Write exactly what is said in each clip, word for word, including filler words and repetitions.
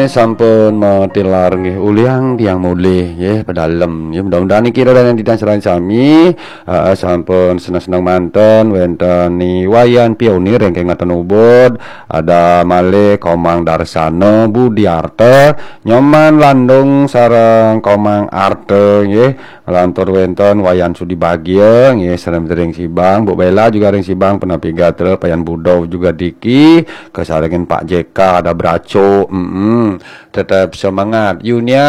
Sampun matilar nggih uliang tiang mulih nggih pedalem nggih. Mudah-mudahan niki ida dané titiang sareng sami, eh, sampun seneng-seneng manten wénten ni Wayan Pionir ingkang ngaten ubud, ada malih Komang Darsana Budiarta, Nyoman Landung sareng Komang Arta nggih. Lantur wénten Wayan Sudi Bagia nggih, sareng ring Sibang, Bu Bella juga ring Sibang, punapi gatra Payan Budo juga diki, kasarengin Pak J K ada Braco, mm tetap semangat. Yunia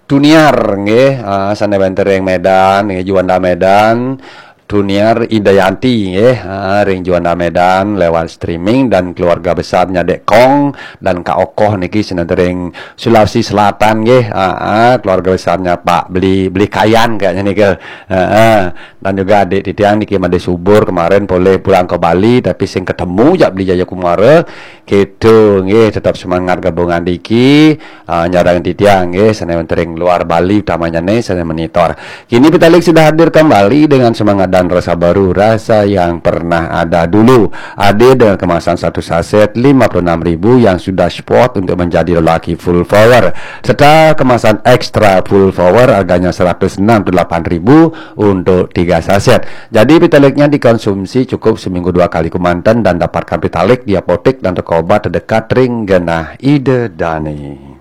Tuniar nggih, ah, sané wénten ring Medan nggih, Juanda Medan. Tuniar Idayanti nggih, ah, ring Juanda Medan lewat streaming dan keluarga besarnya Dek Kong dan Kak Okoh niki sané ring Sulawesi Selatan nggih, ah, ah, keluarga besarnya Pak Beli Beli Kayan kayaknya nih ke. Ah, ah. Dan juga adik titiang niki Made Subur kemarin boleh pulang ke Bali tapi sing ketemu jak Beli Jayakumara. Gitu nggih, tetap semangat gabungan diki, ah, nyarang titiang nggih, sané wénten ring luar Bali utamanya nih sané monitor. Kini Petaling sudah hadir kembali dengan semangat dan rasa baru, rasa yang pernah ada dulu. Hadir dengan kemasan satu saset lima puluh enam ribu yang sudah spot untuk menjadi lelaki full power, serta kemasan extra full power harganya seratus enam puluh delapan ribu untuk tiga saset. Jadi Petaliknya dikonsumsi cukup seminggu dua kali kemanten dan dapatkan Petalik di apotek dan toko obat terdekat ring genah ida dané.